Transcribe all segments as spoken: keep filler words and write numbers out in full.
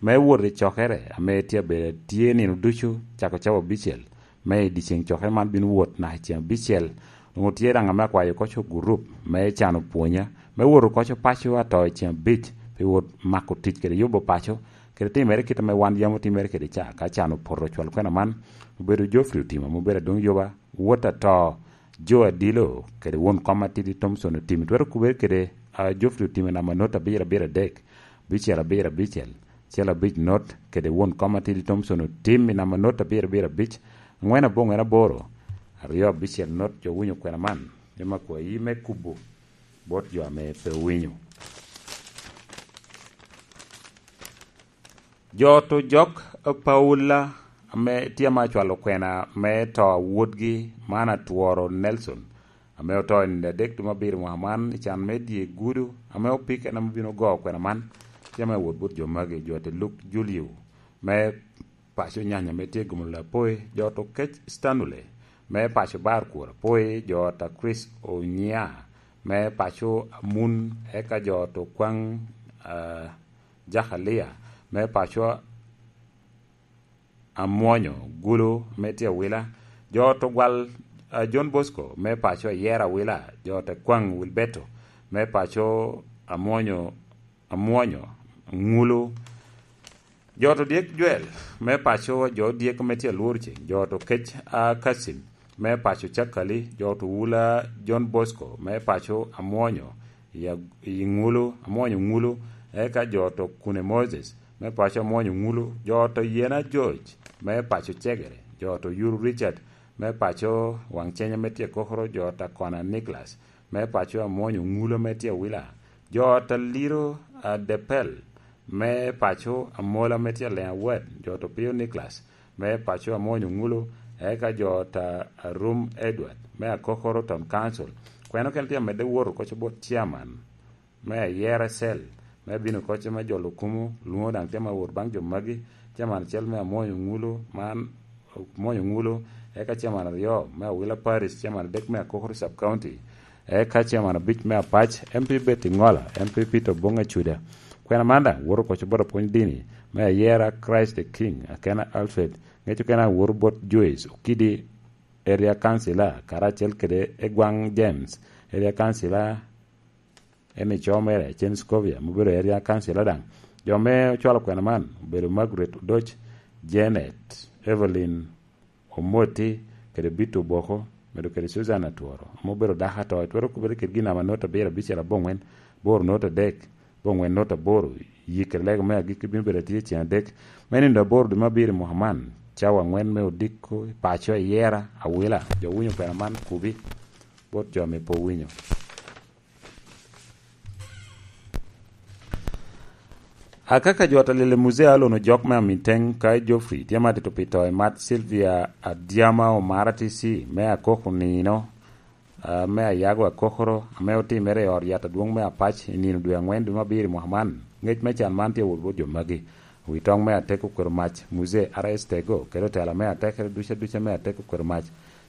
me wot i cokere ame tye abedo tye nino ducu cako cawa abicel, me i dyeceŋ cokere man bino wot naka i ceŋ abicel. Onwoŋo tye daŋ ame akwayo koco gurup me cano pwonya, me wot oko co paco ato i ceŋ abic, pi wot mako tic kede yubo paco, kede timere kit ame wan yam otimere kede ca, ka can opoto cwal kwena man, obedo Geoffrey Otima, ame obedo adwoŋ yuba, wot ato, Jo Adilo, kede won kom atidi Thomson Otim, twero kubere kede, a, Geoffrey Otim i namba not abiro abiro adek, bicel abiro abicel, cel abic not, kede won kom atidi Thomson Otim i namba not abiro abiro abic, angwen aboŋwen aboro, aryo abicel not. Jo winyo kwena man, ema akwayi me kubo bot jo ame pe owinyo. Jo to jok, eh, Paula, ame tye ame acwalo kwena me to a wotgi, man Atworo Nelson, ame oto i nino adek tumo abiro mwaka man i can me dye gudo, ame opike en ame bino go kwena man, tye ame wot bot jo magi, jo te Luk Julio, me paco Nyanya ame tye Gomolo Apoi, jo to Kec Stanley, me paco Bar Kwor Apoi, jo ta Chris Onya, me paco Amun, eka jo to Kwaŋ, ah, Jakalia, me paco Amwonyo Gulu, me tye Awila, jo to Gwal, ah, John Bosco, me paco Ayera Awila, jo ta Kwaŋ Wilberto, me paco Amwonyo, Amwonyo Ŋulu, jo to Dyek Jwel, me paco jo Dyek me tye Alwor Ceng, jo to Kec, ah, Kasim, me paco Cakali, jo to Wula John Bosco, me paco Amwonyo, i Ag-, i Ŋulu, Amwonyo Ŋulu, eka jo to Kune Moses, me paco Amwonyo Ŋulu, jo to Yena George, me paco Cegere, jo to Yuru Richard, me paco Waŋ Cenya me tye Kokoro, jo ta Kona Nicholas, me paco Amwonyo Ŋulu me tye Awila, jo ta Liro, ah, Depel, me paco Amola me tye Leŋ Awad, jo to Pio Nicholas, me paco Amwonyo Ŋulu, eka jo ta Arum Edward, me Akokoro Town Council. Kweno kene tye amedde wot oko co bot chairman me Ayera Cell, me bino oko co me jolo kumo, lwoŋo daŋ tye ma wot baŋ jo magi, chairman acel me Amwonyo Ŋulu, man Amwonyo Ŋulu, eka chairman aryo me Awila Parish, chairman adek me Akokoro Sub County, eka chairman abic me Apac, M P Betty Ŋola, M P Peter Oboŋ Acuda. Kwena man daŋ woto oko co bot apwony dini me Ayera Christ the King, Akena Alfred, ŋec okene awoto bot Joyce Okidi, area councilor, karacel kede Egwaŋ James, area councilor, en i co mere, Chen Scovia, ma obedo area councilor daŋ. Jo me ocwalo kwena man obedo Margaret Odoc, Janet, Evelyn Omoti, kede Bito Oboko, medo kede Susan Atworo, ame obedo dako ato, twero kubere kede gin namba not abiro abicel aboŋwen, boro not adek, aboŋwen not aboro, yikere lego me agikki bino bedo atye ceŋ adek, me nino aboro dwe me abiro i mwaka man, cawa angwen me odiko, i paco, i yera, Awila, jo winyo kwena man kubi, bot jo ame pe owinyo. Akaka jo ata lele Muzee Alon Ojok me Aminteng, ka Geoffrey tye ma tito pi to i mat Sylvia Adyama Omara T C me Akoko Nino, ah, me Ayago Akokoro, ame otimere i ot yat adwoŋ me Apac i nino dwe angwen dwe me abiro i mwaka man. Ngec me can man tye wot bot jo magi. Wi toŋ me atek okwero mac, Muzee R S Tego, kede otela me atekere duca duca me atek okwero mac.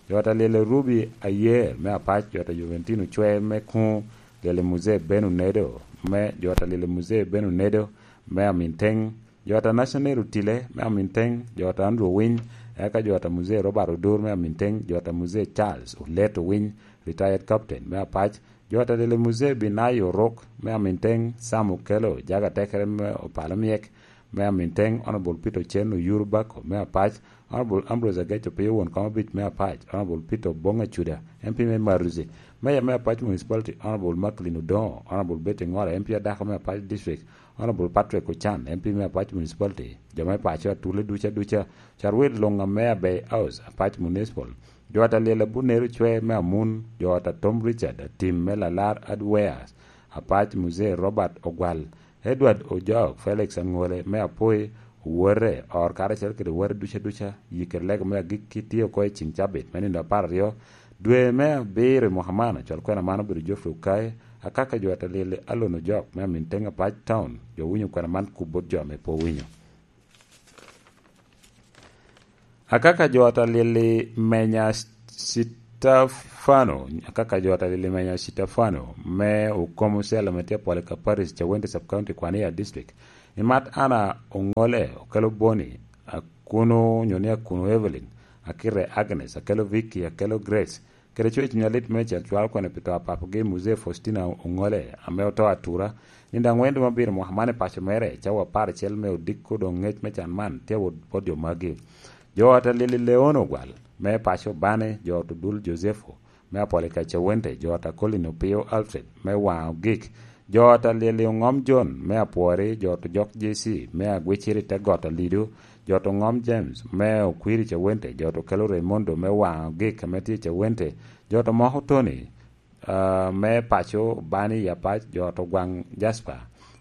Jo ata lele Ruby Ayer me Apac, jo ata Juventino Cwe me Kuŋo, lele Muzee Ben Onedo, me, jo ata lele Muzee Ben Onedo me Aminteng, jo ata National Otile me Aminteng, jo ata Andrew Owiny, eka jo ata Muzee Robert Odur me Aminteng, jo ata Muzee Charles Olet Owiny, retired captain me Apac, jo ata lele Muzee Binayo Orok me Aminteng, Sam Okello, jaga tekere me Opala Myek me Aminteng, Honorable Peter Ochen Oyuru Bako me Apac, Honorable Ambrose Agec Opio won kom abic me Apac, Honorable Peter Obong Acuda, M P me Maruzi, Mayor me Apac Municipality, Honorable Macklin Odongo, Honorable Betty Ngora, M P adako me Apac District, Honorable Patrick Ochan, M P me Apac Municipality, jo me paco atule duca duca, carwil luŋ ame Abey House, Apac Municipal, jo ata lyel Abunero Cwe me Amun, jo ata Tom Richard Atim me Lalar Hardwares, Apac Muzee Robert Ogwal, Edward Ojok, Felix Aŋole me Apoi, owote, or karacel kede owote duca duca, yikere lego me agikki tye oko i ceng cabit me nino apar aryo, dwe me abiro i mwaka man, acwal kwena man obedo Geoffrey Okai, akaka jo ata lyel Alon Ojok me Aminteng Apac Town, jo winyo kwena man kub bot jo ame pe owinyo. Akaka jo ata lyel i Menya Sitafano, akaka jo ata lyel i Menya Sitafano me Okomo Cell ame tye Apwalika Parish, Cawende Sub County, Kwania District, Imat Anna Oŋole, okelo Boni, Akuno, nyo ni Akuno Evelyn, akite Agnes, akelo Vicky, akelo Grace, kede coc cuny alit me cel cwalo kwene pi to a papogi Muzee Faustina Oŋole, ame oto atura, nino aŋwen dwe me abiro mwaka man i paco mere, cawa apar acel me odiko doŋ ngec me can man, tye awot bot jo magi. Jo ot a Lili Leon Ogwal, me paco Bane, jo ot Odul Josepho, me Apolika Cawente, jo ot a Colin Opio Alfred, me Waŋ Ogik, jo ot a Lili Oŋom John, me Apwori, jo ot Ojok J C, me Agwiciri te got Alido, jo ot Oŋom James, me Okwiri Cawente, jo ot Okelo Raymondo, me Waŋ Ogik, ame tye i Cawente, jo ot Omoko Tony, ah, me paco Bani i Apac, jo ot Ogwaŋ Jasper,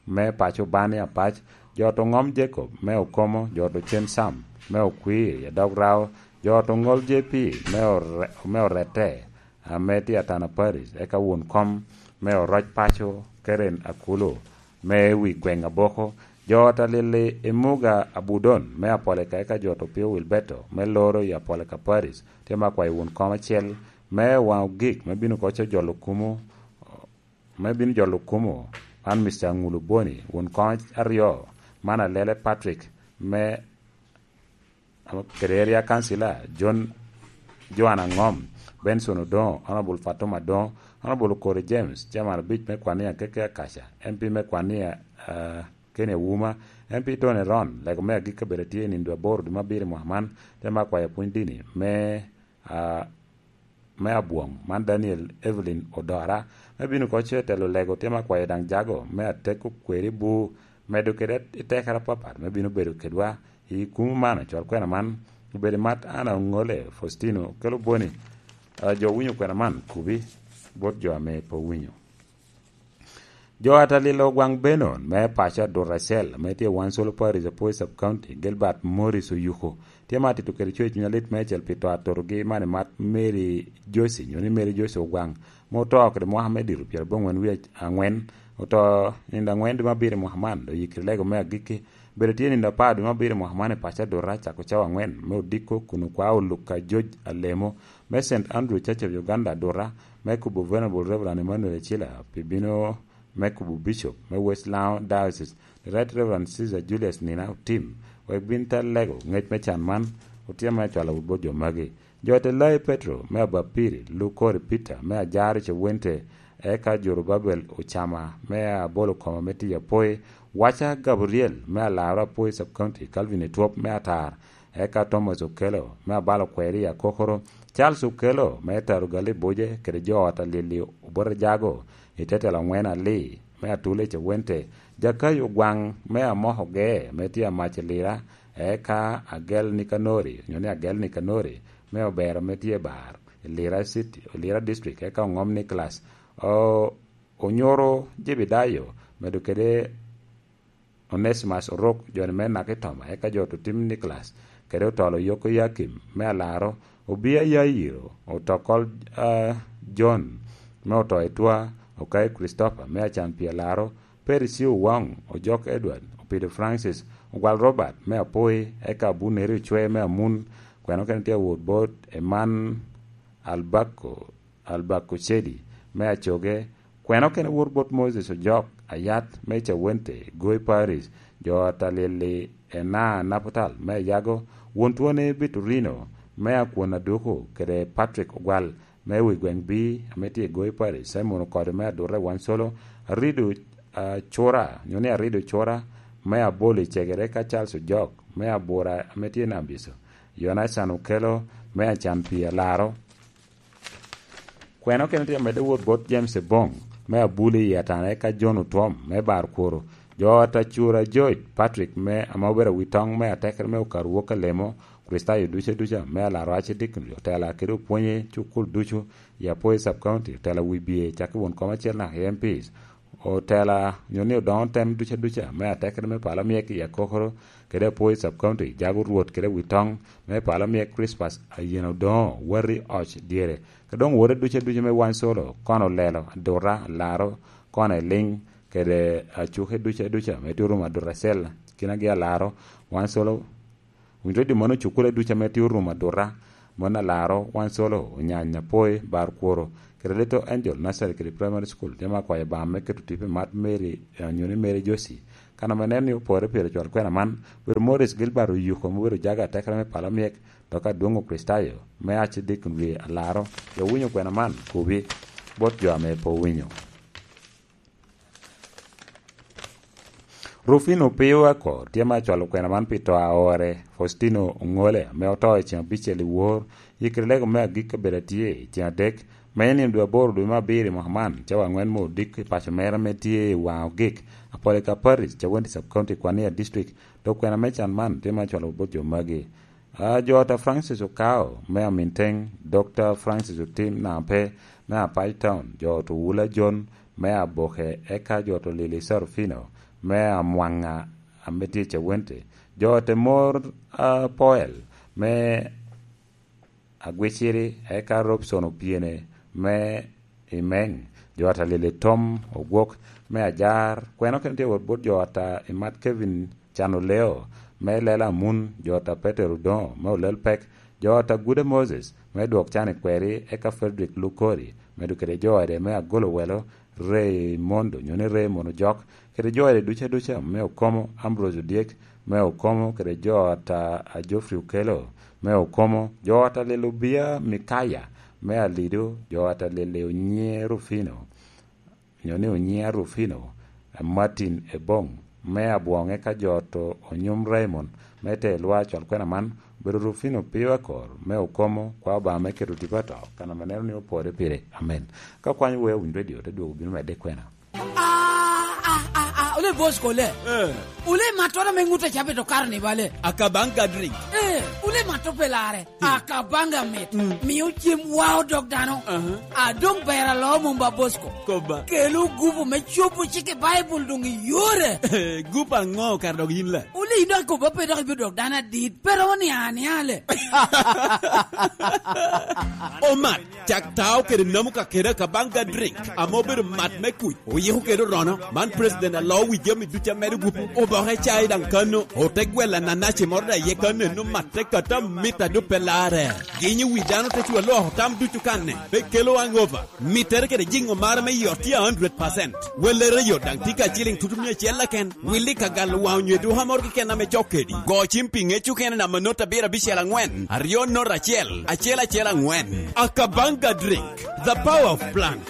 me paco Bani Apac, jo ot Oŋom Jacob, me Okomo, jo ot Ocen Sam, me Okwir, i Adog Rao, jo ot Oŋol J P, me Ore-, me Orette, ame tye Atana Parish, eka won kom me Oroc Paco, Karen Akulu, me wi gweŋ Aboko, jo ot a Lili Imuga Abudon, me Apolika, eka jo ot Opio Wilberto, me Loro i Apolika Parish, tye me akwayo won kom acel, me Waŋ Ogik, me bino koco jolo kumo, me bino jolo kumo, man Mister Aŋulu Boni, won kom aryo, man Alele Patrick, me, kede area councilor, John, Joan Aŋom, Benson Odoŋo, Honorable Fatuma Adoŋo, Honorable Okori James, chairman abic me Kwania Keke Akaca, M P me Kwania, ah, Kenny Auma, M P Tony Ron, lego me agikki kabedo tye i nino dwe aboro dwe me abiro i mwaka man, te me akwayo pwony dini me, ah, me Abwong, man Daniel Evelyn Odora, me bino koco i telo lego, te me akwayo daŋ jago me ateko kweri bu, medo kede i tekere apapat, me bino bedo kedwa i kumo man, ocwal kwena man, obedo i mat Anna Oŋole, Faustino, kelo Boni, ah, jo winyo kwena man, kubi, bot jo ame pe owinyo. Jo ot a Lili Ogwaŋ Benon, me paco Adut Racel, ame tye i Wansolo Parish, Apoi Sub County, Gilbert Morris Oyuko, tye ma atito kede coc cuny alit meicel pi to atotogi man i mat Mary Josie, nyo ni Mary Josie Ogwaŋ, ma oto kede mwaka me dito pyerabongwen wie aŋwen, oto nino aŋwen dwe me abiro i mwaka man, dok oyikere lego me agikki, bedo tye nino apar dwe me abiro i mwaka man i paco Adut Racel, cako cawa aŋwen me odiko kun okwao Luka George Alemo, me Saint Andrew Church of Uganda Adut Racel, me kubo Venerable Reverend Emmanuel Acila pi bino me kubo Bishop me West Lango Diocese, the Right Reverend Caesar Julius Nina Otim, wek bin te lego ngec me can man, otyem me cwalo bot jo magi. Jo ot a Elai Petro me Abapiri, Lukori Peter me Ajaro Cewente, eka Jorubabel Ocama me Abolo Koma me Tiyo Apoi, Waca Gabriel me Alaro Apoi Sub County, Calvin Etwop me Atar, eka Thomas Okello me Abalo Kweri i Akokoro, Charles Okello me Tarugali Buje kede jo ot a Lili Obote Jago i te telo aŋwen Ali me Atule Cewente, Jakayo Ogwaŋ me Amoko Ge me tye Amac i Lira, eka Agel Nikanori, nyo ni Agel Nikanori me Obero me tye Bar i Lira City, Lira District, eka Oŋom Nicholas, o-, Onyoro Jebedayo, medo kede Onesimus Orok, joni me Nakitoma, eka jo ot Otim Nicholas, kede Otolo Yoko Yakim me Alaro, Obia Yairo, Otokol, ah, John me Oto Etwa, Okai Christopher me Acan Pi Alaro, Percy Owang, Ojok Edward, Opido Francis, Ogwal Robert me Apoi, eka Abuneri Ocwe me Amun, kweno kene tye awot bot Eman Albako, Albako Cedi me Acoge, kweno kene wot bot Moses Ojok Ayat me Cawente, Goi Parish, jo ot a Lili Ena Naputal me Ayago, won twone Biturino me Akwon Aduku, kede Patrick Ogwal me wi gweŋ Bi ame tye i Goi Parish, Simon Okodo me Adute Wansolo, Arido, ah, Cura, nyo ni Arido Cura me Abolo i Cegere, ka Charles Ojok me Abura ame tye Nabiso, Yonatan Okello me Acan Pi Alaro, kweno kene tye amedde wot bot James Ebong me Abuli i Atana, eka John Otwom me Bar Kworo, jo ot a Cura George Patrick me ame obedo awi toŋ me atekere me Okaru Wok Alemo, Kricitayo duca duca me Alaro Archdeaconry, otela kede opwonye cukul ducu i Apoi Sub County, otela wi bye cakki won kom acel naka i M Ps, otela nyo ni odoŋo tem duca duca me atekere me pala myek i Akokoro, kede Apoi Sub County, jago Rwot kede wi toŋ me pala myek Crispas Ayen Odoŋo, Wati Oc Dyere, ka doŋ wote duca duca me Wansolo, Kono Lelo, Aduta, Alaro, Kono Eliŋ, kede acuke duca duca me tye orumo Aduta Cell, kinagi Alaro, Wansolo, Winy redio mano cukule duca ame tye orumo Aduta, mano Alaro, Wansolo, Onyanya, Apoi, Bar Kworo, kede Little Angel Nursery kede Primary School, tye ma akwayo Obaŋa me keto tipo i mat Mary, eh, nyo ni Mary Josie, Kan ame nen ni opore pire cwal kwena man, obedo Morris Gilbert Oyuko, ma obedo jaga atekere me pala myek, dok adwoŋ Okricitayo me Archdeacon Wie Alaro, jo winyo kwena man, kobi bot jo ame pe owinyo. Rufino Piyo Akor tye ma acwalo kwena man pi to a ore, Faustino Oŋole, ame oto i ceŋ abicel i wor, yikere lego me agikki obedo atye i ceŋ adek, me nino dwe aboro dwe me abiro i mwaka man, cawa aŋwen me odiko i paco mere ame tye i Waŋ Ogik, Apolika Parish, Cawenti Sub-County, Kwania District, dok kwena me can man tye ma acwalo bot jo magi. A, jo ata Francis Okao me Aminteŋ, Dokta Francis Otim Nampe me Apac Town, jo ata Owula Jon me Aboke, eka jo ata Lili Sarufino me Amwaŋa ame tye i Cawenti, jo ata Mor, a, Poel me Agwiciri, eka Robson Opyene me Imeng, jo ata Lili Tom Ogwok me Ajar, kwena okene tye wot bot jo ata Imat Kevin Can Oleo me Lela Amun, jo ata Petero Odoŋo me Olel Pek, jo ata Gude Moses me Dwok Can i Kweri, eka Frederick Lukori, medo kede jo ata me Agolo Welo, Raymond, onyo ni Raymond Ojok, kede jo ata duca duca me Okomo, Ambrose Odyek me Okomo, kede jo ata a Geoffrey Okello me Okomo, jo ata Lili Obia Mikaya me Alido, jo ata Lili Onyiŋe Rufino, onyo ni Onyiŋa Rufino, Martin Ebong me Abwoŋe, ka jo ata Onyum Raymond me Telwa, cwal kwena man, obedo Rufino Piyo Akor me Okomo, kwa Obaŋa me keto tipo ato, kan ame neno ni opore pire. Amen. Ka kwanyo wea Winy Radio, te dwogo bino medde kwena. Ah, ah, ah, ah, ole Bosco le. Eh. Ole mattora me ŋut a cabe to Carnival le. Akabanga drink. Eh, ole matto pe lare. Hmm. Akabanga mit. Hmm. Mio cem wao dog dano. Aha. A doŋ ber alo mom ba Bosco. Koba. Kelo gupu me cobo cik i Baibul doŋ i yore. Gupu aŋo kara dog yin le? Ole yin dok ikobo pe dok ibino dog dano adit. Pe romo ni ania le. Omat. Cak tao kede namo ka kede Akabanga drink, ame obedo mat me kuc, oyiko kede orono. Man president alo wi jami ducu amedo gupu. Oboke cai daŋ kano, ote gwella nanaci moro daŋ iye kano, eno matte kata mit a doŋ pe larre. Ginyo wi dano te cwa lwoko tam ducu kanne, pe kelo hangover. Mittere kede jiŋo mara me yot tye a hundred percent. Wellere yot daŋ tye ka ciliŋ tutu mia acel keken. Willi ka galo waŋ onyo eduka moro keken ame cok kedi. Go cim pi ŋec okene namba not abiro abicel aŋwen, aryo not acel, acel acel aŋwen. Akabanga drink, the power of plant.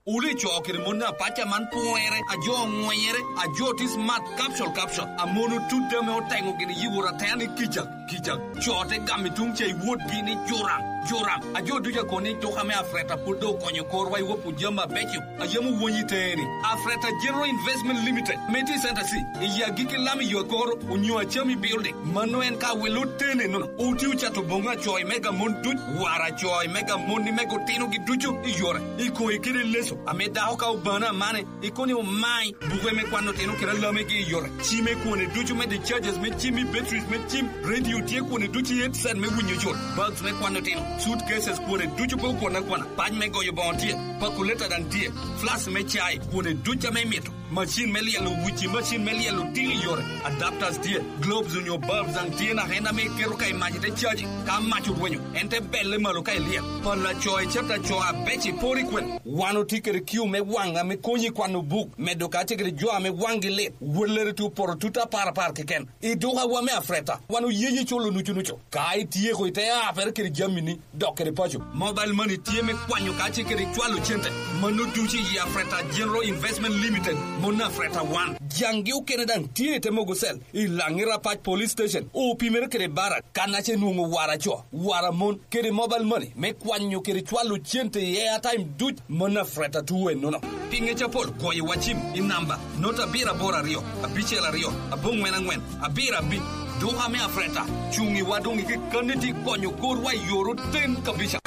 Wuli co kede mon apaca man pwere, a jo oŋwenyere, a jo ti smart capsule capsule, a mon otut ame oteŋo gini yi wot atea ni kica. Kica, co te gamo i tuŋ ca i wotgi ni, "Joram, Joram." A jo ducu a kono ni, "Duka me Afreta pwod doŋ okonyo korwa i wok jami abeco a yam owony i teni." Afreta General Investment Limited, me tye i Center C, i agikki lam i yo akoro, onyo acam i building. Mano en ka wilo teni nono. Oti ocato boŋo acoy me gamon duc, war acoy me gamon ni me gotinogi ducu i yore, i koyi kede leso, ame dako ka obano amane, ikono ni omai buke me kwano otino kede alamegi i yore, cime kwone ducu me discharges me cim i batteries me cim, radio tye kwone ducu i headset me winyo yot, bags me kwano otino, suitcases kwone ducu pe okwane akwana, pac me goyo boŋo tye, calculator daŋ tye, flask me cai kwone ducu ame imito, macin me lyelo wuci, macin me lyelo tino i yore, adapters tye, globes onyo bulbs daŋ tye naka en ame iketo ka i mac ite caji, ka mac orwenyo, en te belle malo ka ilyel. Pala co i cata co abeco i pori kwen. Wan otye kede kiu me waŋ ame konyi kwano buk, medo kacel kede jo ame waŋgi lit. Wellere tye opoto tut apar apar keken. I dukawa me Afreta, wan oyenyi culo nucu nucu. Ka ityeko ite apere kede jamini, dok kede paco. Mobile money tye me kwanyo kacel kede cwalo cente. Mano ducu i Afreta General Investment Limited, mon Afreta wan. Jaŋgi okene daŋ tye i te mogo cell. I Laŋi Rapac Police Station, opimere kede Barak, kan ace nwoŋo wara co, wara mon, kede mobile money me kwanyo kede cwalo cente i airtime duc, mano Afreta tuwe nono. Pi ŋec apol, goyo wa cim i namba not abiro aboro aryo, abicel aryo, aboŋwen aŋwen, abiro abic. Duka me Afreta, cuŋ i wa doŋ i kekkanni ti konyo korwa i yor oten kabisa.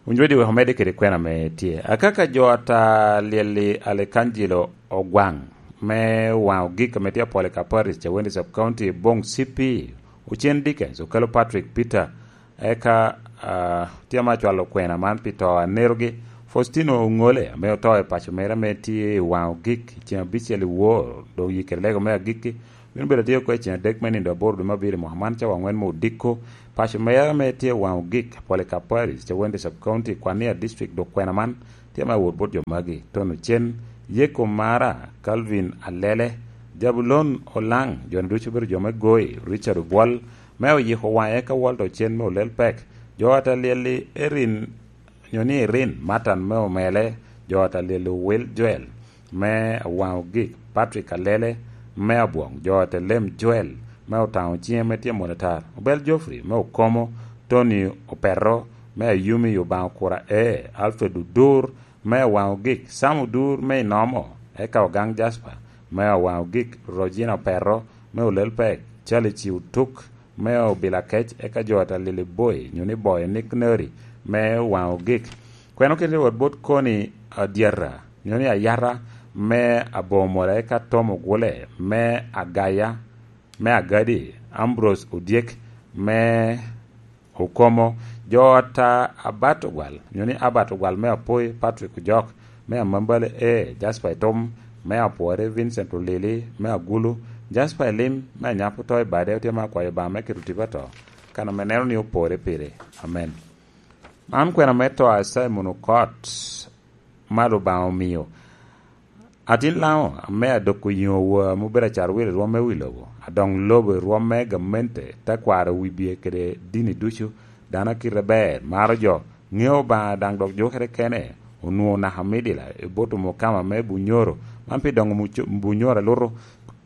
Winy Radio wek omedde kede kwena ame tye. Akaka jo ata lyelli Alekangelo Ogwaŋ me Waŋ Ogik ame tye Apolika Parish, Cawende Sub County, Boŋ C P, Ocen Dickens, Okello Patrick Peter, eka, ah, tye ame acwalo kwena man pi to a nerogi, Faustino Oŋole, ame oto i paco mere ame tye i Waŋ Ogik i ceŋ abicel i wor, dok yikere lego me agikki, bino bedo atye oko i ceŋ adek me nindo aboro dwe me abiro i mwaka man, cawa aŋwen me odiko, Paco mere ame tye i Waŋ Ogik, Polycarp Parish, Cawende Sub-County, Kwania District, dok kwena man tye ame awot bot jo magi: Tony Ocen, Yeko Mara, Calvin Alele, Jabulon Olaŋ, jo-ni ducu obedo jo me Goi, Richard Obwol, me oyiko waŋe, eka Walter Ocen me Olel Pek, jo ata lyel-li Erin, nyo ni Erin Matan me Omele, jo ata lyel-li Will Joel me Waŋ Ogik, Patrick Alele me Abwoŋ, jo ata lem Joel me Otaŋo Ciŋe me tye Molatar, Obel Geoffrey me Okomo, Tony Opeto me Ayumi, Obaŋa Okura, ee, Alfred Odur me Waŋ Ogik, Sam Odur me Inomo, eka Ogaŋ Jasper me Waŋ Ogik, Rojina Opeto me Olel Pek, Charlie Ciw Tuk me Obila Kec, eka jo ata lyel-li Boy, nyo ni Boy Nick Neri me Waŋ Ogik. Kwena okete wot bot Koni Adyata, nyo ni Ayata me Abomole, eka Tom Ogule me Agaya, me Agadi, Ambrose Odyek me Okomo, jo ata Abat Ogwal, nyo ni Abat Ogwal me Apoi, Patrick Ojok me Amambale, ee, Jasper Itum me Apwore, Vincent Olili me Agulu, Jasper Elim me Anyap Oto i Bade, otye ame akwayo Obaŋa me keto tipo ato, kan ame neno ni opore pire. Amen. Man kwena me to a Simon Okot ma Lubanga omio. Atin Laŋo ame adoko yiŋo wa ame obedo acarwil i rwom me wi lobo, adoŋ lobo i rwom me gamente, tekwaro wibie kede dini ducu, dano a kite ber, maro jo, ŋeo Obaŋa, daŋ dok jukere kene, onwoŋo naka midila i bot omukama me Bunyoro, man pi doŋo muco-, Bunyoro aluto.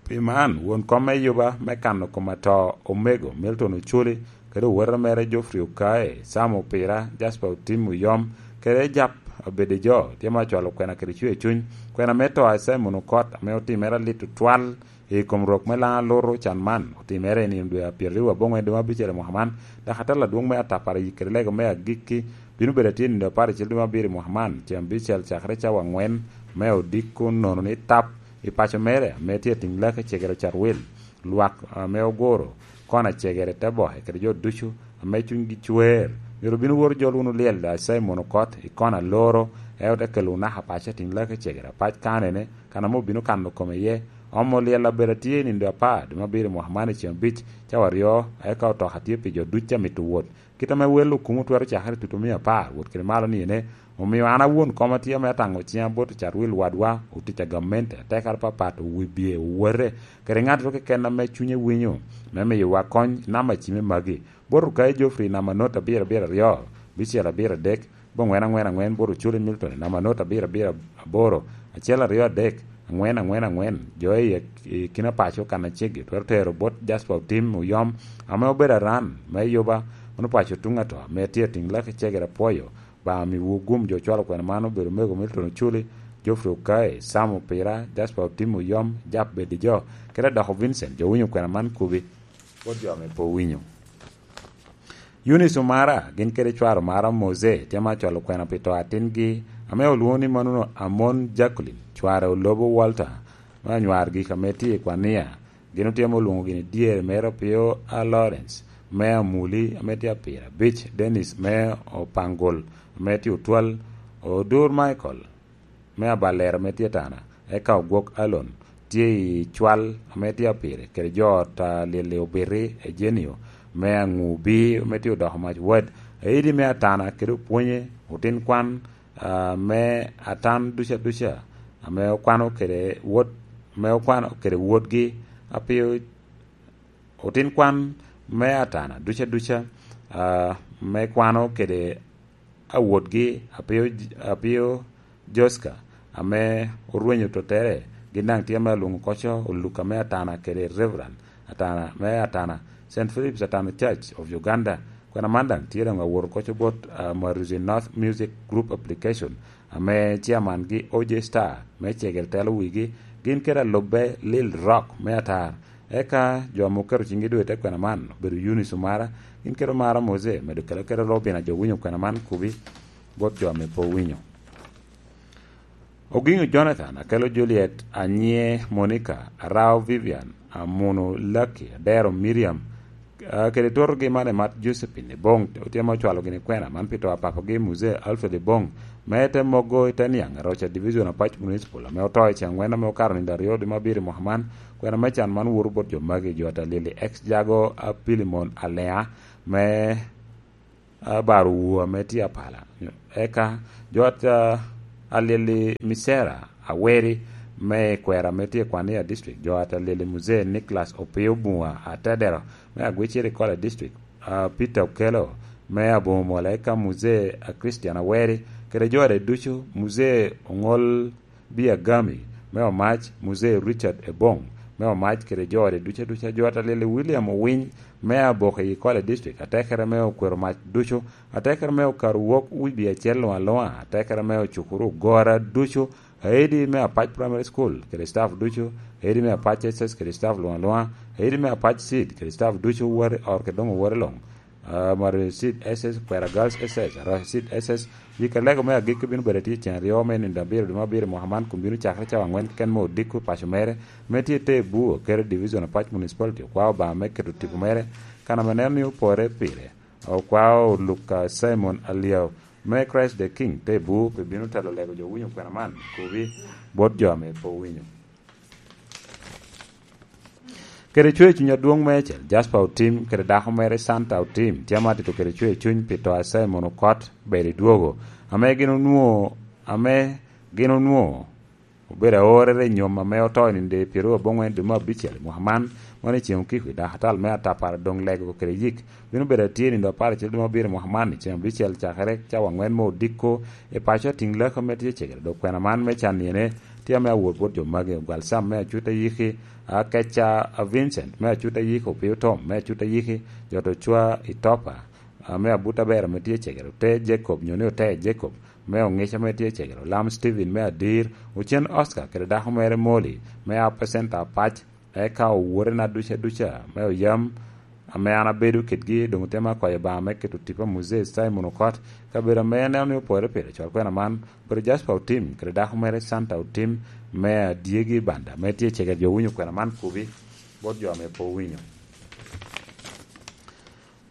Pi man, won kom me yuba me kano kom ato, omego Milton Oculi, kede owete mere Geoffrey Okae, Sam Opira, Jasper Otim Oyom, kede Jap Abedejo, tye ma ocwalo kwena kede cwer cuny. Kwena me to a Simon Okot, ame otimere alit otwal i kom rok me Laŋo Alutu can man, otimere i nino dwe a pyeraryo aboŋwen dwe me abicel i mwaka man, dok atal adwoŋ me atapara yik kede lego me agikki bino bedo atye i nino apar acel dwe me abiro i mwaka man, ceng abicel cakere cawa aŋwen me odiko, nono ni tap i paco mere ame tye atiŋ laki cegere ocat wil. Lwak ame oguro kona cegere te boke kede jo ducu ame cunygi cwer, myero obin owot ojol wunu lyel a Simon Okot i kona Aluru, ento te kelo naka paco atiŋ laki cegere apac kanene, kan ame obino kano kome iye. Omo lyel abedo atye i nino apar dwe me abiro i mwaka man i ceng abic cawa aryo, eka otoka tye pi jo ducu a mito wot. Kit ame wel okumo twero cakere tutu mia apar, wot kede malo ni ene, omio an awon koma tye ame ataŋo ciŋa bot ocat wil wadwa, otic a gamente, atekere apapat, owibye, owote, kede ŋattoro keken ame cunye winyo, me miyowa kony i namba cime magi. Bot Rukai Geoffrey i namba not abiro abiro aryo, bicel abiro adek, bongwen angwen angwen, bot Oculi Milton i namba not abiro abiro aboro, acel aryo adek, angwen angwen angwen, jo i, i kina paco kan aceggi twero tero bot Jasper Otim Oyom, ame obedo aran me yuba, mano paco tuŋ ato, ame tye atiŋ laki cegere apwoyo. Obaŋa miwu gum jo cwalo kwena man obedo omego Milton Oculi, Geoffrey Okae, Sam Opira, Jasper Otim Oyom, Jap Bedijo, kede Adoko Vincent, jo winyo kwena man kubi, bot jo ame pe owinyo. Eunice Omara, gin kede cware Omara Mose, tye ma cwalo kwena pi to atingi, ame olwoŋo ni Manuno Amon Jacqueline, cware Olobo Walter, me anywar gik ame tye i Kwania. Gin otye ma olwoŋo gini dyere mere Opio a Lawrence, me Amuli, ame tye apira abic, Dennis me Opangol, ame tye otwal, Odur Michael, me Abalero ame tye tana, eka Ogwok Alon tye i cwal ame tye apire, kede jo ot a Lili Obiti, Ejenio me Aŋubi ame tye odoko mac wad, Aidi me Atana kede Opwonye, otin kwan, ah, me Atan duca duca, ame okwano kede wot, ame okwano kede wotgi, Apio, otin kwan me Atana duca duca, ah, me kwano kede awotgi, Apio, Apio Joska, ame orwenyo tottere, gin daŋ tye ame alwoŋo koco Oluka me Atana kede Reverend Atana me Atana, Saint Philip's Atana Church of Uganda. Kwena man daŋ tye daŋ awot koco bot, ah, Mwaruzi North Music Group Application, ame chairman gi O J Star me cegere telo wigi, gin kede alubbe Lil Rock me Atar. Eka jo ame oketo ciŋgi doŋ i te kwena man obedo Eunice Omara, gin kede Omara Mose, medo kelo kede Robin a jo winyo kwena man kubi bot jo ame pe owinyo. Oginyo Jonathan, akelo Juliet, Anyie Monica, Arao Vivian, Amuno Lucky, Adero Miriam, ah, kede totogi man Emat Josephine Ebong, otye ma ocwalo gini kwena man pi to a papagi Muzee Alfred Ebong, me te mogo i te niaŋ, Aroca Division, Apac Municipal, ame oto i ceng angwen ame okato nino aryo dwe me abiro i mwaka man. Kwena me can man woto bot jo magi, jo ata Lili X Jago, a Pilimon Alea, me, ah, baro wu ame tye apala. Eka jo at, ah, Alili Misera Aweri me kwera ame tye i Kwania District, jo at Alili Muzee Nicholas Opio Bunga Atedero me Agwiciri Kola District, ah, Peter Okello me Abomol, eka Muzee, ah, Christian Aweri, kede jo ade ducu, Muzee Oŋol Biagami me Omac, Muzee Richard Ebong me Omac, kede jo ade ducu aduca, jo at Alili William Owiny me Aboke i Kola District, atekere me Okwero Mac ducu, atekere me Okaru Wok Wibi Acel Luŋa Luŋa, atekere me Ocukuru Ogora ducu, aidi me Apac Primary School kede staff ducu, aidi me Apac S S kede staff Luŋa Luŋa, aidi me Apac Seed kede staff ducu, wari or kede doŋ wari luŋ. Ah, Mario Seed S S, Kwera Girls S S, Arac Seed S S, yika lego me agikki bino bedo tye cen aryo me nino abiro dwe me abiro mwaka man, kun bino cakere cawa angwen keken me odiko paco mere, me tye te Buo, kede Division Apac Municipality, okwao Obaŋa me keto tipo mere, kan ame neno ni opore pire. Okwao Luka Simon Aliao me Christ the King te bu pe bino telo lego jo winyo kwena man, kubi bot jo ame pe owinyo. Kede cwer cuny adwoŋ meicel, Jasper Otim kede dako mere Santa Otim tye amatito kede cwer cuny pi to a Simon Okot bedo i dwogo, ame gin onwoŋo, ame gin onwoŋo obedo aorere i nyom ame oto i nino pyeraryo aboŋwen dwe me abicel i mwaka man, mano i ceŋ okiko i dakatal me atapara doŋ lego kede yik. Bino bedo atye i nino apar acel dwe me abiro i mwaka man i ceŋ abicel cakere cawa angwen me odiko i paco atiŋ laki ame tye cegere. Dok kwena man me can niene tye ame awot bot jo magi, ogwal Sam me Acuta Yiki, Akeca, a Vincent me Acuta Yiki, Opio Tom me Acuta Yiki, Jot Ocwa i Topa, ame abuta ber ame tye cegere, ote Jacob, nyo ni ote Jacob, me Oŋic ame tye cegere, Olam Steven me Adir, Ocen Oscar kede dako mere Molly, me Upper Center Apac, eka owotena duca duca, me Oyam, ame an abedo kedgi, doŋ otema kwayo Obaŋa me keto tipo a Muzee Simon Okot, kabedo ame aneno ni opore pire col kwena man, obedo Jasper Otim, kede dako mere Santa Otim, me Adyegi Banda, me tye cegere jo winyo kwena man kubi, bot jo ame pe owinyo.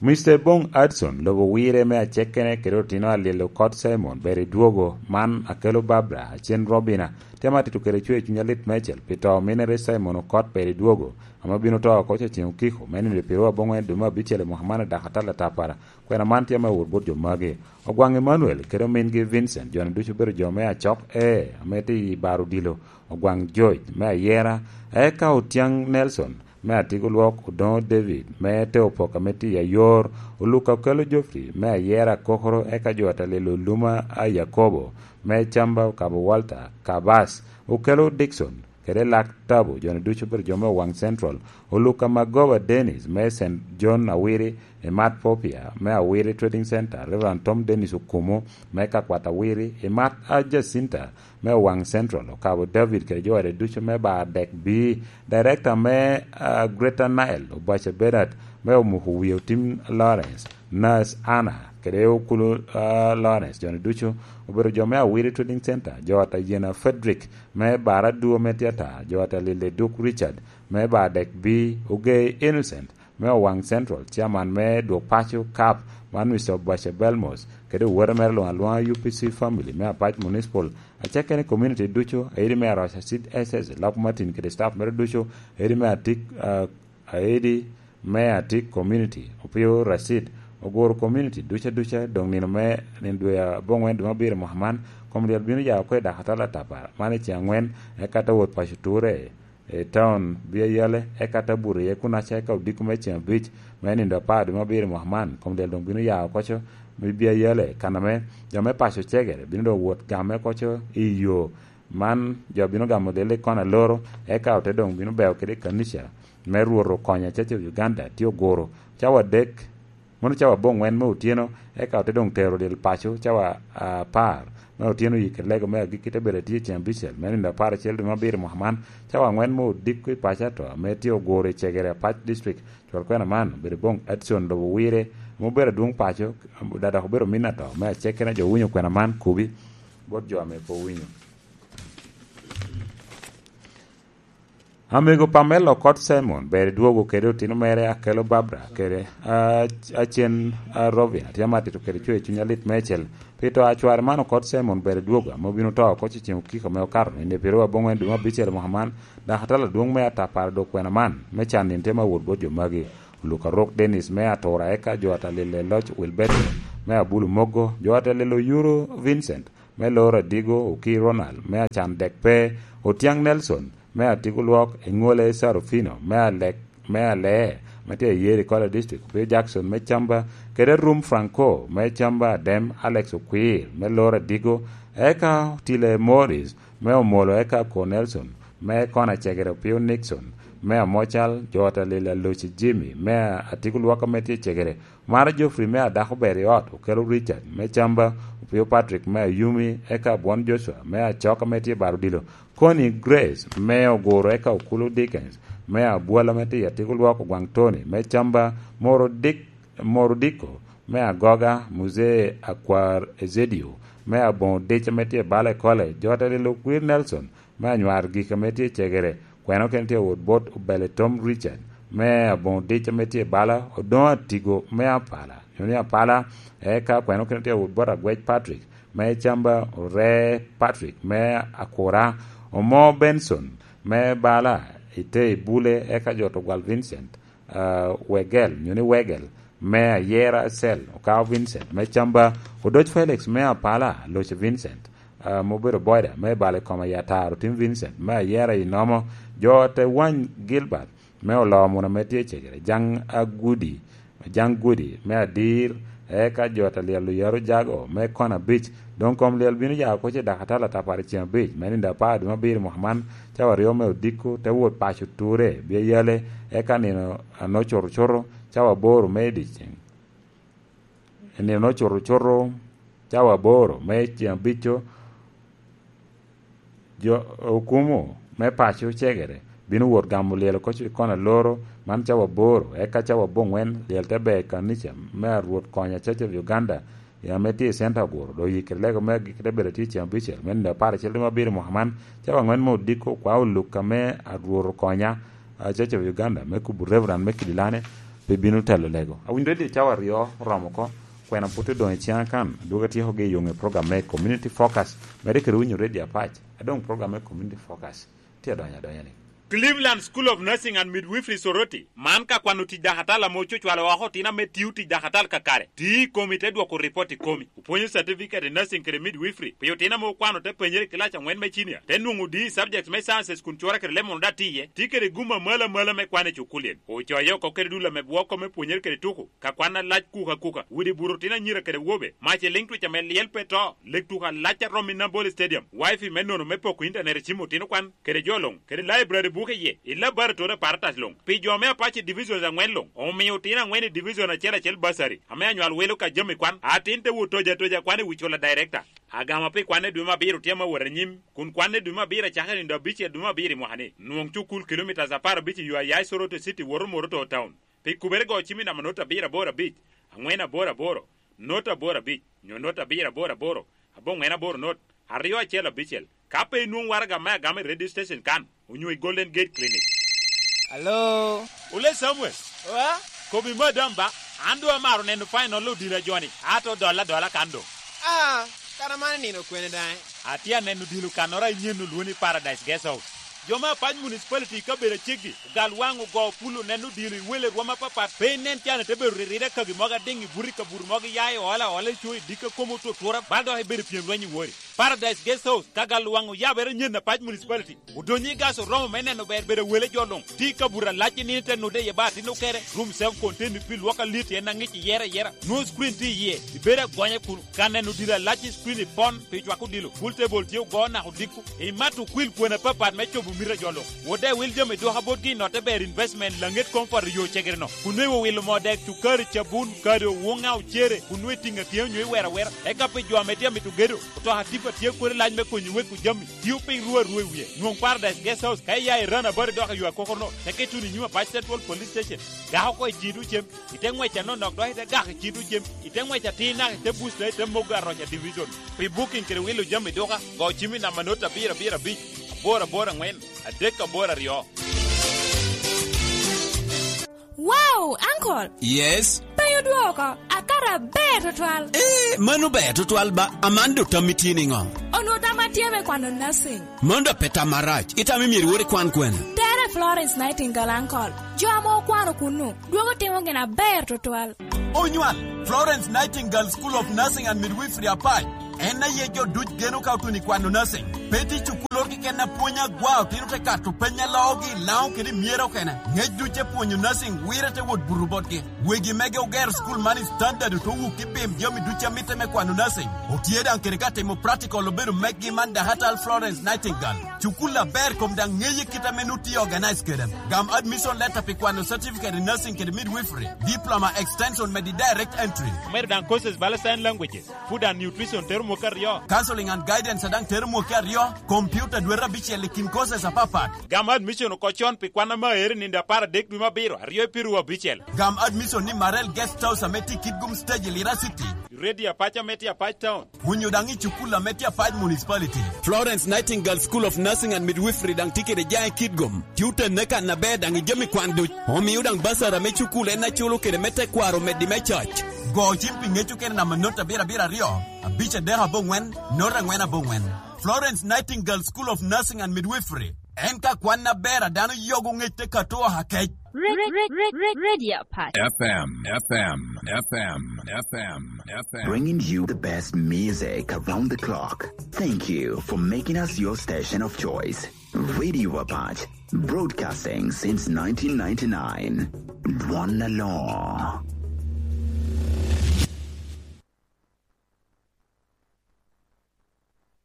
Mister Bong Adson, lobo wire me acekkene kede otino Alil Okot Simon, ber i dwogo, man Akelo Barbara, Acen Robina, tye amatito kede cwer cuny alit meicel pi to ominere Simon Okot ber i dwogo, ame obino to oko ceŋ okiko, me nino pyeraryo aboŋwen dwe me abicel i mwaka man i dakatal atapara. Kwena man tye ame owot bot jo magi. Ogwaŋ Emmanuel kede omingi Vincent, jo-ni ducu obedo jo me Acok, ee, ame tye i Baro Odilo, Ogwaŋ George me Ayera, eka Otyang Nelson, me Atigo Lwok, Odoŋo David, me Teopok ame tye i Ayor, Oluka Okelo Geoffrey, me Ayera Kokoro, eka jo Atalelo Luma a Yakobo, me Camba Okabo Walter, Kabas, Okelo Dickson, kede Lak Tabo, jo-ni ducu obedo jo me Owaŋ Central, Oluka Magoba Dennis, me Saint John Awiri, Imat Popia, me Awiri Trading Center, Reverend Tom Dennis Okumu, me Kakwat Awiri, Imat a Jacinta, me Owaŋ Central, Okabo David kede jo ode ducu me Bar Dek B, Director me, ah, Greater Nile, Obace Bernard, me Omuko Wie Otim Lawrence, Nurse Anna, kede Okulu, ah, Lawrence, jo-ni ducu obedo jo me Awiri Trading Center, jo ata Yena Frederick, me Bar Aduo me Tiata, jo ata Lile Duk Richard, me Bar Dek B, Ogei Innocent, me Owaŋ Central, Chairman me Dwok Paco Cup, man Mister Obace Belmos, kede owote mere luŋ alwoŋa U P C family me Apac Municipal, acakere community ducu, airi me Aroca Seed S S, Lok Martin kede staff mere ducu, airi me Atik, ah, airi me Atik community, Opio Rashid, Ogoro community duca duca, doŋ nino me, nino dwe aboŋwen dwe me abiro mwaka man, kom lyel bino ya oko i dakatal atapara, man i ceŋ angwen, eka te wot paco ture, i taun Bia Yale, eka te buto iye kunaca, eka odiko me ceŋ abic me nino apar dwe me abiro mwaka man, kom lyel doŋ bino ya oko co me Bia Yale, kan ame jo me paco cegere bino doŋ wot gamme oko co i yo. Man jo bino gamo lyel i kona loro, eka ote doŋ bino beo kede i kanica me Rwot Okonya Church of Uganda, tye Ogoro, cawa adek, mono cawa aboŋwen me otyeno, eka ote doŋ tero lyel paco cawa apar me otyeno. Yik i lego me agikki te bedo atye i ceŋ abicel me nino apar acel dwe me abiro mwaka man, cawa angwen me odiko i paco ato, ame tye Ogoro i cegere Apac District. Cwal kwena man obedo Bong Edson lobo wire, ame obedo adwoŋ paco, da dok obedo min ato, me acekkere jo winyo kwena man kubi bot jo ame pe owinyo. Amego Pamela Okot Simon ber i dwogo kede otino mere Akelo Barbara kede, ah, Acen, ah, Robin, atye amatito kede cwer cuny alit meicel pi to a cware man Okot Simon ber i dwogo, ame obino to oko cicim okiko me okato nino pyeraryo aboŋwen dwe me abicel mwaka man, dok atalo adwoŋ me atapara dok kwena man me can nino tye ma wot bot jo magi. Luka Rok Dennis me Atura, eka jo ata lilo i loc Wilberto me Abulu Mogo, jo ata lilo Yuro Vincent me Loro Adigo, Oki Ronald me Acan Dekpe, Otiaŋ Nelson me Atigo Lwok, Eŋwole Sarufino me Alek, me Alee, me tye i Yeri Kola District, Opio Jackson me Camba, kede Rum Franco me Camba Adem, Alex Okwir me Loro Adigo, eka Otile Morris me Omolo, eka Ko Nelson me Kona Cegere, Opio Nixon me Amocal, jo ata lilo Aloci Jimmy me Atigo Lwok ame tye i Cegere, Mara Geoffrey me Adako Ber i Ot, Okelo Richard me Camba, Opio Patrick me Ayumi, eka Bwon Joshua me Acok ame tye i Baro Odilo, Connie Grace me Oguro, eka Okulu Dickens me Abwal ame tye i Atigo Lwok, Ogwaŋ Tony me Camba, Moro Dick, Moro Diko me Agoga, Muzee Akwar Ezedio me Aboŋo Dic ame tye i Bale College, jo ata lilo Okwir Nelson me Anywar Gik ame tye i Cegere, kweno kene tye wot bot Obele Tom Richard me Aboŋo Dic ame tye i Bala, Odoŋo Atigo me Apala, nyo ni Apala, eka kweno kene tye wot bot Agwec Patrick me Camba, Ore Patrick me Akura, Omo Benson me Bala, Itei Bule, eka jo Tugwal Vincent, ah, Wegel, nyo ni Wegel, me Ayera Cell, Okao Vincent me Camba, Odoc Felix me Apala, Loce Vincent, ah, ma obedo boda me balo i kom Ayataro Tim Vincent me Ayera i Nomo, jo te wany Gilbert me Oloo Muna ame tye i Cegere, Jaŋ Agudi, Jaŋ Gudi me Adir, eka jo te lyel oyaro jago me Kona Beach. Doŋ kom lyel bino ya oko ce dakatala tapar i ceng abic, me nino apar dwe me abiro i mwaka man, cawa aryo me odiko, te wot paco Ture, bye yale, eka nino a nongo cuto cuto, cawa aboro me i dyeceŋ. I nino a nongo cuto cuto, cawa aboro me i ceng abico, jo okumo me paco Cegere bino wot gamo lyel oko i Kona Loro, man cawa aboro, eka cawa aboŋwen lyel te ber i kanica me Arwot Konya Church of Uganda, ya ame tye i Center Oguro, dok yikere lego me agikki te bedo atye i ceng abicel, me nino apar acel dwe me abiro i mwaka man, cawa aŋwen me odiko, kwa oluk ame Arwot Okonya, a, Church of Uganda, me kubo Reverend me Kidilane, pe bino telo lego. Awinyo redio cawa aryo oromo oko, kwena pwod odoŋ i ciŋa kan, adwogo atyeko gi i yoŋe program me Community Focus, medde kede winyo redio apac, a doŋ program me Community Focus tye adonyo adonya ni. Cleveland School of Nursing and Midwifery Soroti, man ka kwano tic dakatala ame ococwalo oko otino ame tio tic dakatala kakare, ti i komi te dwoko ripot i komi. Opwonyo certificate i nursing kede midwifery pi otino ame okwano te penyere i kilac aŋwen me cinia, te nwoŋo D i subject me sciences kun cura kede leb mono daŋ tye iye, tye kede gum amalo amalo me kwan i cukulin. Ocoye oko kede dul ame bwoko me pwonyere kede tuko, ka kwan alac kuka kuka, widi buto otino anyira kede wobe, mac i liŋ twic ame lyel pe to, leg tuko alac a romo i Nambole Stadium, wifi me nono me poko intanet i cim otino kwan, kede jo luŋ, kede library buke iye, i laboratory apparatus luŋ, pi jo me Apache Divisions aŋwen luŋ, omio otino aŋwen i division acel acel bursary, ame anywal wilo ka jami kwan, atin te wot toja toja kwan i wi cula director. Agama pi kwan i dwe me abiro tye ame wot anyim, kun kwan i dwe me abiro acakere nino abicel dwe me abiro i mwaka ni. Nwong cukul kilomitas apar abic i yo a ya i Soroti City woto Moroto Town. Pi kubere go cim i namba not abiro aboro abic, aŋwen aboro aboro, not aboro abic, nyo not abiro aboro aboro, aboŋwen aboro not, aryo acel abicel. Ka pe inwoŋo waraga me agama i radio station kan, onyo i Golden Gate Clinic. Alo? Ole Samuel. Oa? Kobi madam ba, an doŋ amaro neno final odilo a joni, ato dolla adola kan doŋ. Ah, kara man nino kwene daŋ? Atye aneno odilo kannoro a inyen olwoni Paradise Guest House. Jo me Apac Municipality i kabedo aceggi, ogal waŋ ogo pul oneno odilo i wele rwom apapat, pe inen can ite bedo riride kagi mogo adiŋ i buto i kabuto mogo iya i ola ola i co i dikka komo otutura, bal dok ibedo pyem lweny i wori. Paradise Guest House, ka gal waŋ oyabere nyen Apac Municipality. Odonyo i gas oromo me neno ber bedo wele jo luŋ. Ti ka buto alac i nino te nude iye ba atin okere, room self contained pi lwok alit en aŋic iyere ayera. Nwoŋo screen tye iye, ibedo agonya kun ka neno odilo alac i screen ipon pi cwako odilo. Pool table tye ogo naka odiko. Imato kwil kwena apapat me cobo mito a jo luŋ. Wot daŋ iwil jami dwoka botgi i notte ber investment laŋet comfort i yo cegere-no. Kun nwoŋo iwilo moo dek, cukari, cabun, kado, wuŋa, ocere, kun nwoŋo itiŋo atiŋa onyo iwero awera. Eka pi jo ame tye amito gedo, otoka tipa tye kodi lac me konyo weko jami. Tio piny ru arua i wie. Nwoŋ Paradise Guest House ka iya i Run About dok i yo akokoro-no, teke ituno i nyim Apac Central Police Station. Gak oko i cito cem, ite ŋwec anonok dok ite gak i cito cem, ite ŋwec atir naka ite buc dok ite mogo aroca division. Pi booking kede wilo jami duka, go cim i namba not abiro abiro abic, aboro aboro aŋwen, adek aboro aryo. Wow, uncle! Yes? Penyo dwoko, akato aber tutwal. Eh, mano ber tutwal ba, aman do tammi tye niŋo? Onwo tamma tye me kwano nursing. Mano da pe tam marac, itamo myero iwot ikwan kwene? Tere Florence Nightingale Uncle. Jo ame okwano kunnu, dwogo timo gin aber tutwal. Onywal, Florence Nightingale School of Nursing and Midwifery Apac. En aye jo duc geno ka otuno i kwano nursing. Pe tye cukul oro keken a pwony agwa, otino te kato peny a loogi i Laŋo kede i Myera okene. Ngec duc te pwonyo nursing wire te wot buto botgi. Wegi mege ogero cukul man i standard oto wuk i pim jami duc a mitte me kwano nursing. Otye daŋ kede ka timo practical obedo meggi man Dakatal Florence Nightingale. Cukul aber kom daŋ ŋeye kit ame nut tye organize kede. Gam admission letter pi kwano certificate in nursing kede midwifery, diploma extension medi direct entry. Omedo daŋ courses bala sign languages, food and nutrition tero mwaka aryo. Counseling and guidance a daŋ tero mwaka aryo, computer dwete abicel i kin courses apapat. Gam admission oko con pi kwan ame aero i nino apar adek dwe me abiro, aryo i piru abicel. Gam admission ni Marel Guest House ame tye i Kitgum Stage i Lira City. Radio Apac ame tye Apac Town. Onyo daŋ i cukul ame tye Apac Municipality. Florence Nightingale School of Nursing and Midwifery daŋ tye kede jaŋ i Kitgum. Tye otenne kan aber daŋ i jami kwan duc. Omio daŋ basara me cukul en aculo kede me tekwaro meddi me cac. Go cim pi ŋec okene namba not abiro abiro aryo, abic adek aboŋwen, not angwen aboŋwen. Florence Nightingale School of Nursing and Midwifery. En ka kwan aber a dano yogo ŋec te kato oha kec. Re-, re-, re-, re-, Radio Apac. F M, F M, F M, F M, F M. Bringing you the best music around the clock. Thank you for making us your station of choice. Radio Apac, broadcasting since nineteen ninety-nine. One law.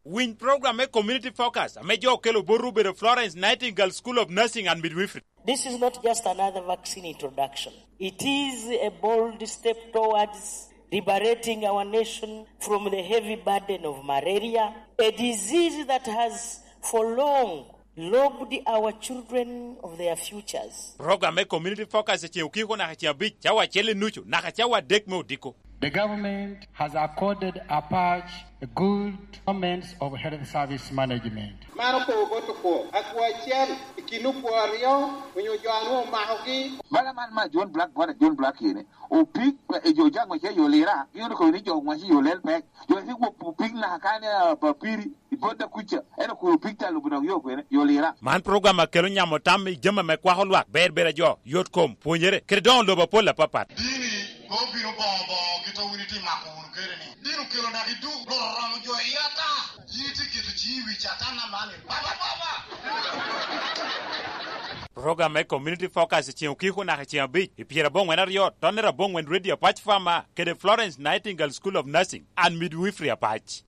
Winy program me Community Focus ame jo okelo botwu obedo Florence Nightingale School of Nursing and Midwifery. This is not just another vaccine introduction. It is a bold step towards liberating our nation from the heavy burden of malaria, a disease that has for long lobbed our children of their futures. Program me Community Focus i ceŋ okiko naka ceŋ abic, cawa acel i nucu naka cawa adek me odiko. The government has accorded Apac a good performance of health service management. Man okobo bot okwo, akwo acel i kin okwo aryo onyo jo a nwoŋo omakogi. Bala man ma John Black, bot a John Black ene, opik, e, jo jaŋ wace yo lira, gin okobo ni jo wace yo lel pek. Jo wace wo opik naka kane, a, papiri, i bot da kuca, en okobo opik ta lubo dok yo kwene, yo lira. Man program a kelo nyamo tam i jami ame kwako lwak, ber ber a jo, yot kom, pwonyere, kede doŋo lobo apol apapat. Dini, pe obino boŋo boŋo kit a wun itye mako wunu kede ni. Dini okelo naka i duk, Rwot oromo jo i ata. Yin itye keto ciŋi i wi Catan aman, ni, "Baba, Baba!" Program me Community Focus i ceŋ okiko naka i ceŋ abic, i pyerabongwen aryo, tonnere abongwen Radio Apac Farmer, kede Florence Nightingale School of Nursing and Midwifery Apac.